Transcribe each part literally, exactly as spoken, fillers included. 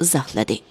ئىزاھلىدى.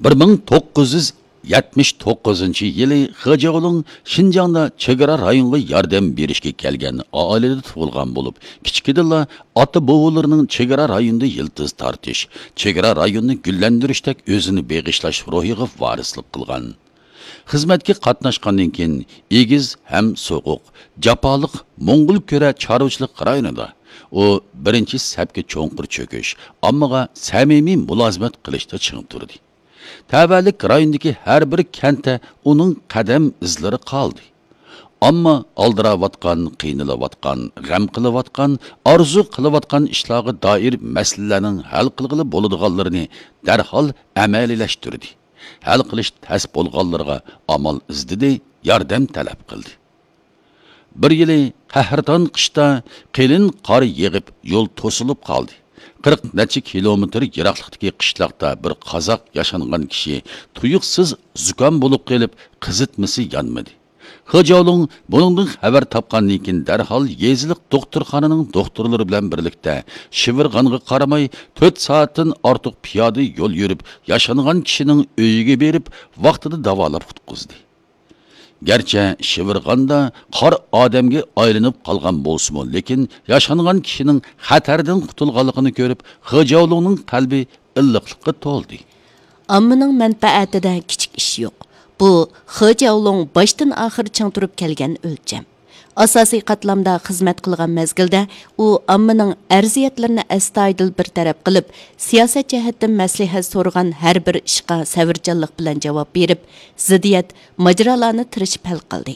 بىر مىڭ توققۇز يۈز يەتمىش توققۇزىنچى يىلى خې جياۋلۇڭ شىنجاڭدا چېگرا رايونغا ياردەم بېرىشكە كەلگەن ئائىلىدە تۇغۇلغان بولۇپ، كىچىكىدىنلا ئاتا-بوۋىلىرىنىڭ چېگرا رايوندا يىلتىز تارتىش، چېگرا رايونىنى گۈللەندۈرۈشتەك ئۆزىنى بېغىشلاش روھىغا ۋارىسلىق قىلغان. خىزمەتكە قاتناشقاندىن كېيىن، ئېگىز ھەم سوغۇق، جاپالىق موڭغۇلكۈرە چارۋىچىلىق رايونىدا ئۇ بىرىنچى سەپكە چوڭقۇر چۆكۈش، ئاممىغا سەمىمىي مۇلازىمەت قىلىشتا چىڭ تۇردى. تەۋەلىك رايونىدىكى ھەر بىر كەنتتە ئۇنىڭ قەدەم ئىزلىرى قالدى. ئامما ئالدىراۋاتقان، قىينىلىۋاتقان، غەم قىلىۋاتقان، ئارزۇ قىلىۋاتقان ئىشلارغا دائىر مەسىلىلەرنىڭ ھەل قىلغىلى بولىدىغانلىرىنى دەرھال ئەمەلىيلەشتۈردى. ھەل قىلىش تەس بولغانلىرىغا ئامال ئىزدىدى، ياردەم تەلەپ قىلدى. بىر يىلى قەھرىتان قىشتا قېلىن قار يېغىپ، يول توسۇلۇپ قالدى. قىرىق نەچچە كىلومېتىر يىراقلىقتىكى قىشلاقتا بىر قازاق ياشانغان كىشى تۇيۇقسىز زۇكام بولۇپ قېلىپ، قىزىتمىسى يانمىدى. خې جياۋلۇڭ بۇنىڭدىن خەۋەر تاپقاندىن كېيىن، دەرھال يېزىلىق دوختۇرخانىنىڭ دوختۇرلىرى بىلەن بىرلىكتە شىۋىرغانغا قارىماي، تۆت سائەتتىن ئارتۇق پىيادە يول يۈرۈپ، ياشانغان كىشىنىڭ ئۆيىگە بېرىپ، ۋاقتىدا داۋالاپ قۇتقۇزدى. گەرچە شىۋىرغاندا قار ئادەمگە ئايلىنىپ قالغان بولسىمۇ، لېكىن ياشانغان كىشىنىڭ خەتەردىن قۇتۇلغانلىقىنى كۆرۈپ، خې جياۋلۇڭنىڭ قەلبى ئىللىقلىققا تولدى. ئاممىنىڭ مەنپەئەتىدە كىچىك ئىش يوق. بۇ خې جياۋلۇڭ باشتىن ئاخىر چىڭ تۇرۇپ كەلگەن ئۆلچەم. ئاساسىي قاتلامدا خىزمەت قىلغان مەزگىلدە ئۇ ئاممىنىڭ ئەرزىيەتلىرىنى ئەستايىدىل بىر تەرەپ قىلىپ، سىياسەت جەھەتتىن مەسلىھەت سورىغان ھەر بىر ئىشقا سەۋرچانلىق بىلەن جاۋاب بېرىپ، زىددىيەت، ماجىرالارنى تىرىشىپ ھەل قىلدى.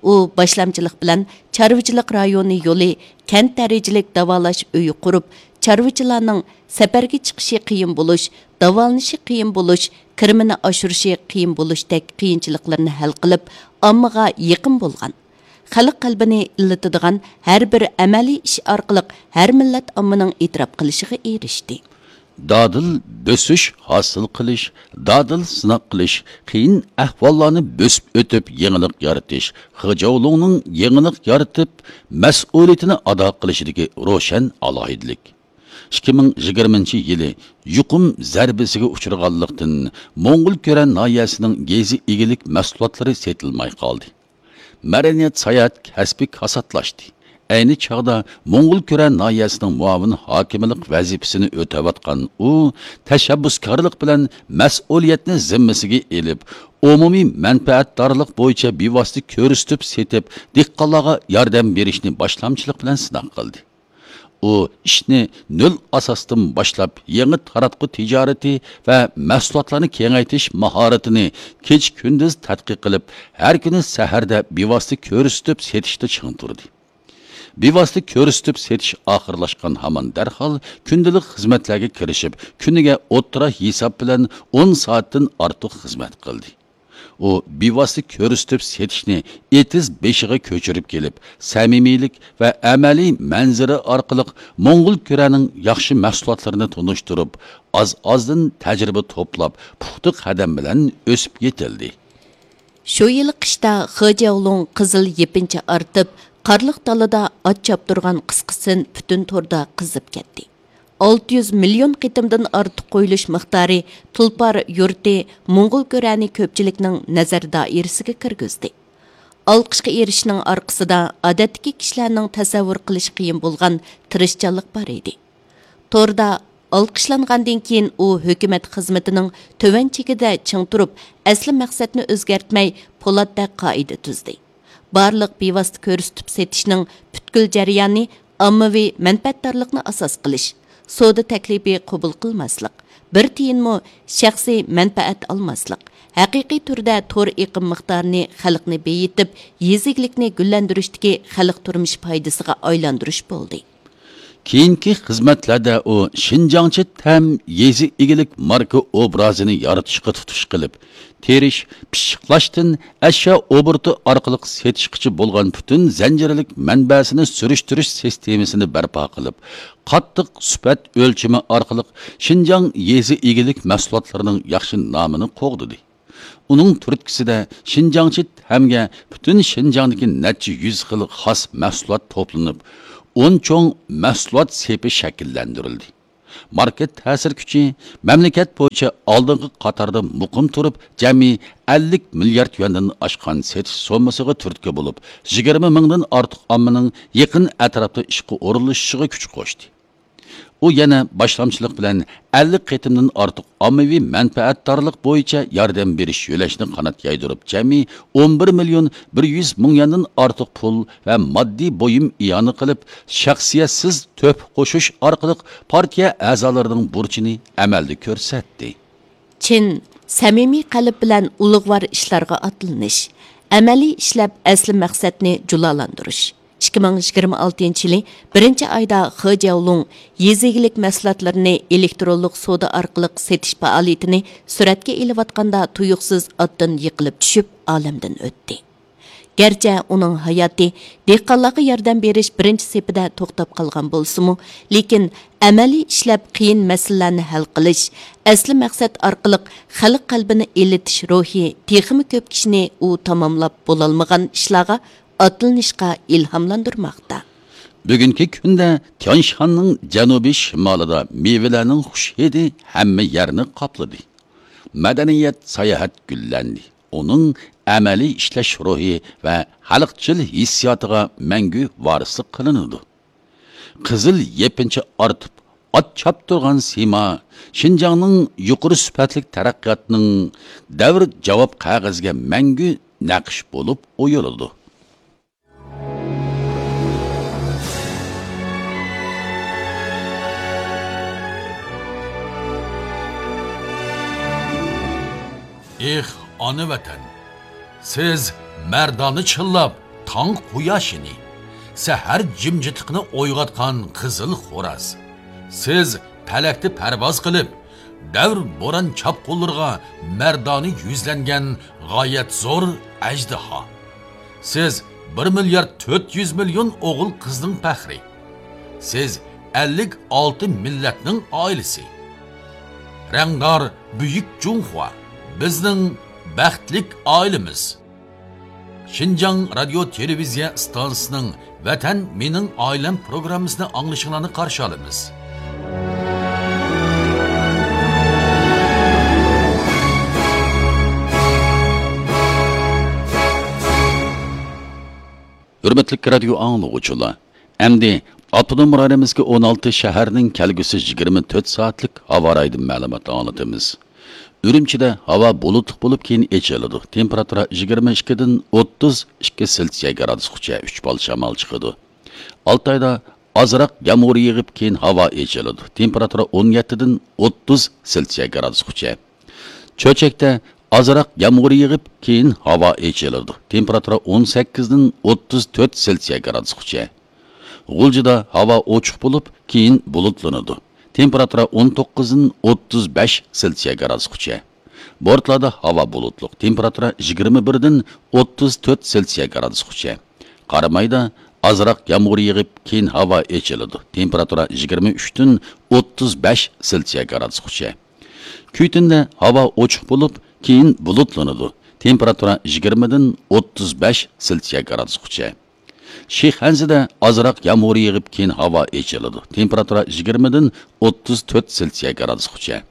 ئۇ باشلامچىلىق بىلەن چارۋىچىلىق رايونى يولى، كەنت دەرىجىلىك داۋالاش ئۆيى قۇرۇپ، چارۋىچىلارنىڭ سەپەرگە چىقىشى قىيىن بولۇش، داۋالىنىشى قىيىن بولۇش، كىرىمىنى ئاشۇرۇشى قىيىن بولۇشتەك قىيىنچىلىقلىرىنى ھەل قىلىپ، ئاممىغا يېقىن بولغان، خەلق قەلبىنى ئىللىتىدىغان ھەر بىر ئەمەلىي ئىش ئارقىلىق ھەر مىللەت ئاممىنىڭ ئېتىراپ قىلىشىغا ئېرىشتى. دادىل بۆسۈش، ھاسىل قىلىش، دادىل سىناق قىلىش، قىيىن ئەھۋاللارنى بۆسۈپ ئۆتۈپ يېڭىلىق يارىتىش، خې جياۋلۇڭنىڭ يېڭىلىق يارىتىپ، مەسئۇلىيىتىنى ئادا قىلىشىدىكى روشەن ئالاھىدىلىك. ئىككى مىڭ يىگىرمىنچى يىلى يۇقۇم زەربىسىگە ئۇچرىغانلىقتىن، موڭغۇلكۈرە ناھىيەسىنىڭ يېزا ئىگىلىك مەھسۇلاتلىرى سېتىلماي قالدى. مەدەنىيەت، ساياھەت كەسپى كاساتلاشتى. ئەينى چاغدا موڭغۇلكۈرە ناھىيەسىنىڭ مۇئاۋىن ھاكىملىق ۋەزىپىسىنى ئۆتەۋاتقان ئۇ تەشەببۇسكارلىق بىلەن مەسئۇلىيەتنى زىممىسىگە ئېلىپ، ئومۇمىي مەنپەئەتدارلىق بويىچە بىۋاسىتە كۆرسىتىپ سېتىپ، دېھقانلارغا ياردەم بېرىشنى باشلامچىلىق بىلەن سىناق قىلدى. ئۇ ئىشنى نۆل ئاساستىن باشلاپ، يېڭى تاراتقۇ تىجارىتى ۋە مەھسۇلاتلارنى كېڭەيتىش ماھارىتىنى كېچە-كۈندۈز تەتقىق قىلىپ، ھەر كۈنى سەھەردە بىۋاسىتە كۆرسىتىپ سېتىشتا چىڭ تۇردى. بىۋاسىتە كۆرسىتىپ سېتىش ئاخىرلاشقان ھامان دەرھال كۈندىلىك خىزمەتلەرگە كىرىشىپ، كۈنىگە ئوتتۇرا ھېساب بىلەن ئون سائەتتىن ئارتۇق خىزمەت قىلدى. ئۇ بىۋاسىتە كۆرسىتىپ سېتىشنى ئېتىز بېشىغا كۆچۈرۈپ كېلىپ، سەمىمىيلىك ۋە ئەمەلىي مەنزىرە ئارقىلىق موڭغۇلكۈرەنىڭ ياخشى مەھسۇلاتلىرىنى تونۇشتۇرۇپ، ئاز-ئازدىن تەجرىبە توپلاپ، پۇختا قەدەم بىلەن ئۆسۈپ يېتىلدى. شۇ يىلى قىشتا خې جياۋلۇڭ قىزىل يېپىنچا ئارتىپ، قارلىق دالىدا ئات چاپتۇرغان قىسقىسىن پۈتۈن توردا قىزىپ كەتتى. ئالتە يۈز مىليون قېتىمدىن ئارتۇق قويۇلۇش مىقدارى تۇلپار يۇرتى موڭغۇلكۈرەنى كۆپچىلىكنىڭ نەزەر دائىرىسىگە كىرگۈزدى. ئالقىشقا ئېرىشىشنىڭ ئارقىسىدا ئادەتتىكى كىشىلەرنىڭ تەسەۋۋۇر قىلىشى قىيىن بولغان تىرىشچانلىق بار ئىدى. توردا ئالقىشلانغاندىن كېيىن ئۇ ھۆكۈمەت خىزمىتىنىڭ تۆۋەن چېكىدە چىڭ تۇرۇپ، ئەسلى مەقسەتنى ئۆزگەرتمەي، پولاتتەك قائىدە تۈزدى. بارلىق بىۋاسىتە كۆرسىتىپ سېتىشنىڭ پۈتكۈل جەريانى ئاممىۋى مەنپەئەتدارلىقنى ئاساس قىلىش، سودا تەكلىپى قوبۇل قىلماسلىق، بىر تىيىنمۇ شەخسىي مەنپەئەت ئالماسلىق، ھەقىقىي تۈردە تور ئېقىم مىقدارىنى خەلقنى بېيىتىپ، يېزا ئىگىلىكنى گۈللەندۈرۈشتىكى خەلق تۇرمۇشى پايدىسىغا ئايلاندۇرۇش بولدى. كېيىنكى خىزمەتلەردە ئۇ شىنجاڭچى تەم يېزا ئىگىلىك ماركا ئوبرازىنى يارىتىشقا تۇتۇش قىلىپ، تېرىش، پىششىقلاشتىن ئەشيا ئوبوروتى ئارقىلىق سېتىشقىچە بولغان پۈتۈن زەنجىرلىك مەنبەسىنى سۈرۈشتۈرۈش سىستېمىسىنى بەرپا قىلىپ، قاتتىق سۈپەت ئۆلچىمى ئارقىلىق شىنجاڭ يېزا ئىگىلىك مەھسۇلاتلىرىنىڭ ياخشى نامىنى قوغدىدى. ئۇنىڭ تۈرتكىسىدە شىنجاڭچى تەمگە پۈتۈن شىنجاڭدىكى نەچچە يۈز خىل خاس مەھسۇلات توپلىنىپ، ئون چوڭ مەھسۇلات سېپى شەكىللەندۈرۈلدى. ماركېت تەسىر كۈچى مەملىكەت بويىچە ئالدىنقى قاتاردا مۇقىم تۇرۇپ، جەمئىي ئەللىك مىليارد يۈەندىن ئاشقان سېتىش سوممىسىغا تۈرتكە بولۇپ، يىگىرمە مىڭدىن ئارتۇق ئاممىنىڭ يېقىن ئەتراپتا ئىشقا ئورۇنلىشىشىغا كۈچ قوشتى. ئۇ يەنە باشلامچىلىق بىلەن ئەللىك قېتىمدىن ئارتۇق ئاممىۋى مەنپەئەتدارلىق بويىچە ياردەم بېرىش يۆلەشنى قانات يايدۇرۇپ، جەمئىي ئون بىر مىليون بىر يۈز مىڭ يۈەندىن ئارتۇق پۇل ۋە ماددىي بۇيۇم ئىئانە قىلىپ، شەخسىيەتسىز تۆھپە قوشۇش ئارقىلىق پارتىيە ئەزالىرىنىڭ بۇرچىنى ئەمەلدە كۆرسەتتى. چىن، سەمىمىي قەلب بىلەن ئۇلۇغۋار ئىشلارغا ئاتلىنىش، ئەمەلىي ئىشلەپ ئەسلى مەقسەتنى جۇلالاندۇرۇش. ئىككى مىڭ يىگىرمە ئالتىنچى يىلى بىرىنچى ئايدا خې جياۋلۇڭ يېزا ئىگىلىك مەھسۇلاتلىرىنى ئېلېكترونلۇق سودا ئارقىلىق سېتىش پائالىيىتىنى سۈرەتكە ئېلىۋاتقاندا تۇيۇقسىز ئاتتىن يىقىلىپ چۈشۈپ، ئالەمدىن ئۆتتى. گەرچە ئۇنىڭ ھاياتى دېھقانلارغا ياردەم بېرىش بىرىنچى سېپىدە توختاپ قالغان بولسىمۇ، لېكىن ئەمەلىي ئىشلەپ قىيىن مەسىلىلەرنى ھەل قىلىش، ئەسلى مەقسەت ئارقىلىق خەلق قەلبىنى ئېلىتىش روھى تېخىمۇ كۆپ كىشىنى ئۇ تاماملاپ بولالمىغان ئىشلارغا ئاتلىنىشقا ئىلھاملاندۇرماقتا. بۈگۈنكى كۈندە تيانشاننىڭ جەنۇبىي شىمالىدا مېۋىلەرنىڭ خۇش ھىدى ھەممە يەرنى قاپلىدى. مەدەنىيەت، ساياھەت گۈللەندى. ئۇنىڭ ئەمەلىي ئىشلەش روھى ۋە خەلقچىل ھېسسىياتىغا مەڭگۈ ۋارىسلىق قىلىنىدۇ. قىزىل يېپىنچا ئارتىپ، ئات چاپتۇرغان سىيما شىنجاڭنىڭ يۇقىرى سۈپەتلىك تەرەققىياتىنىڭ دەۋر جاۋاب قەغىزىگە مەڭگۈ نەقىش بولۇپ ئويۇلىدۇ. ئېھ، ئانا ۋەتەن! سىز مەردانە چىللاپ تاڭ قۇياشىنى، سەھەر جىمجىتلىقىنى ئويغاتقان قىزىل خوراز. سىز پەلەكتە پەرۋاز قىلىپ، دەۋر بوران چاپقۇنلىرىغا مەردانە يۈزلەنگەن غايەت زور ئەجدىھا. سىز بىر مىليارد تۆت يۈز مىليون ئوغۇل قىزنىڭ پەخرى. سىز ئەللىك ئالتە مىللەتنىڭ ئائىلىسى. رەڭدار بۈيۈك جۇڭخۇا، بىزنىڭ بەختلىك ئائىلىمىز. شىنجاڭ رادىيو تېلېۋىزىيە ئىستانسىسىنىڭ ۋەتەن مېنىڭ ئائىلەم پروگراممىسىنى ئاڭلىشىڭلارنى قارشى ئالىمىز. ھۆرمەتلىك رادىيو ئاڭلىغۇچىلار، ئەمدى ئاپتونوم رايونىمىزدىكى ئون ئالتە شەھەرنىڭ كەلگۈسى يىگىرمە تۆت سائەتلىك ھاۋا رايىدىن مەلۇمات ئاڭلىتىمىز. ئۈرۈمچىدە ھاۋا بۇلۇتلۇق بولۇپ، كېيىن ئېچىلىدۇ. تېمپېراتۇرا يىگىرمە ئىككىدىن ئوتتۇز ئىككى سېلسىيە گرادۇسقىچە، ئۈچ بال شامال چىقىدۇ. ئالتايدا ئازراق يامغۇر يېغىپ، كېيىن ھاۋا ئېچىلىدۇ. تېمپېراتۇرا ئون يەتتىدىن ئوتتۇز سېلسىيە گرادۇسقىچە. چۆچەكتە ئازراق يامغۇر يېغىپ، كېيىن ھاۋا ئېچىلىدۇ. تېمپېراتۇرا ئون سەككىزدىن ئوتتۇز تۆت سېلسىيە گرادۇسقىچە. غۇلجىدا ھاۋا ئوچۇق بولۇپ، كېيىن بۇلۇتلىنىدۇ. تېمپېراتۇرا ئون توققۇزدىن ئوتتۇز بەش سېلسىيە گرادۇسقىچە. بورتالادا ھاۋا بۇلۇتلۇق، تېمپېراتۇرا يىگىرمە بىردىن ئوتتۇز تۆت سېلسىيە گرادۇسقىچە. قارامايدا ئازراق يامغۇر يېغىپ، كېيىن ھاۋا ئېچىلىدۇ. تېمپېراتۇرا يىگىرمە ئۈچتىن ئوتتۇز بەش سېلسىيە گرادۇسقىچە. كۈيتۈندە ھاۋا ئوچۇق بولۇپ، كېيىن بۇلۇتلىنىدۇ. تېمپېراتۇرا يىگىرمىدىن ئوتتۇز بەش سېلسىيە گرادۇسقىچە. شىخەنزىدە ئازراق يامغۇر يېغىپ، كېيىن ھاۋا ئېچىلىدۇ. تېمپېراتۇرا يىگىرمىدىن ئوتتۇز تۆت سېلسىيە گرادۇسقىچە.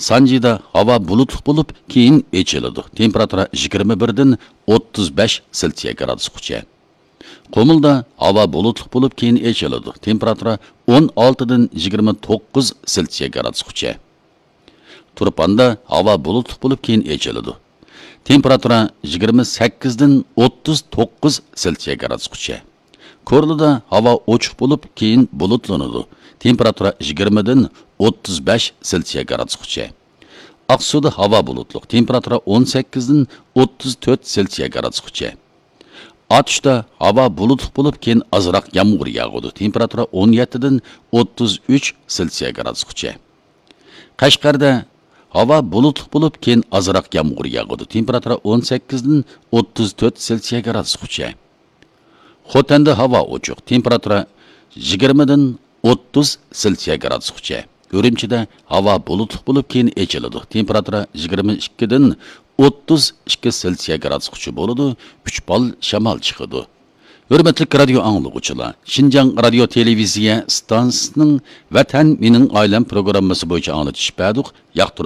سانجىدا ھاۋا بۇلۇتلۇق بولۇپ، كېيىن ئېچىلىدۇ. تېمپېراتۇرا يىگىرمە بىردىن ئوتتۇز بەش سېلسىيە گرادۇسقىچە. قۇمۇلدا ھاۋا بۇلۇتلۇق بولۇپ، كېيىن ئېچىلىدۇ. تېمپېراتۇرا ئون ئالتىدىن يىگىرمە توققۇز سېلسىيە گرادۇسقىچە. تۇرپاندا ھاۋا بۇلۇتلۇق بولۇپ، كېيىن ئېچىلىدۇ. تېمپېراتۇرا يىگىرمە سەككىزدىن ئوتتۇز توققۇز سېلسىيە گرادۇسقىچە. كورلىدا ھاۋا ئوچۇق بولۇپ، كېيىن بۇلۇتلىنىدۇ. تېمپېراتۇرا يىگىرمىدىن ئوتتۇز بەش سېلسىيە گرادۇسقىچە. ئاقسۇدا ھاۋا بۇلۇتلۇق، تېمپېراتۇرا ئون سەككىزدىن ئوتتۇز تۆت سېلسىيە گرادۇسقىچە. ئاتۇشتا ھاۋا بۇلۇتلۇق بولۇپ، كېيىن ئازراق يامغۇر ياغىدۇ. تېمپېراتۇرا ئون يەتتىدىن ئوتتۇز ئۈچ سېلسىيە گرادۇسقىچە. قەشقەردە ھاۋا بۇلۇتلۇق بولۇپ، كېيىن ئازراق يامغۇر ياغىدۇ. تېمپېراتۇرا ئون سەككىزدىن ئوتتۇز تۆت سېلسىيە گرادۇسقىچە. خوتەندە ھاۋا ئوچۇق، تېمپېراتۇرا يىگىرمىدىن ئوتتۇز سېلسىيە گرادۇسقىچە. ئۈرۈمچىدە ھاۋا بۇلۇتلۇق بولۇپ، كېيىن ئېچىلىدۇ. تېمپېراتۇرا يىگىرمە ئىككىدىن ئوتتۇز ئىككى سېلسىيە گرادۇسقىچە بولىدۇ، ئۈچ بال شامال چىقىدۇ. ھۆرمەتلىك رادىيو ئاڭلىغۇچىلار، شىنجاڭ رادىيو تېلېۋىزىيە ئىستانسىسىنىڭ ۋەتەن مېنىڭ ئائىلەم پروگراممىسى بويىچە ئاڭلىتىش بەردۇق. ياقتۇرۇپ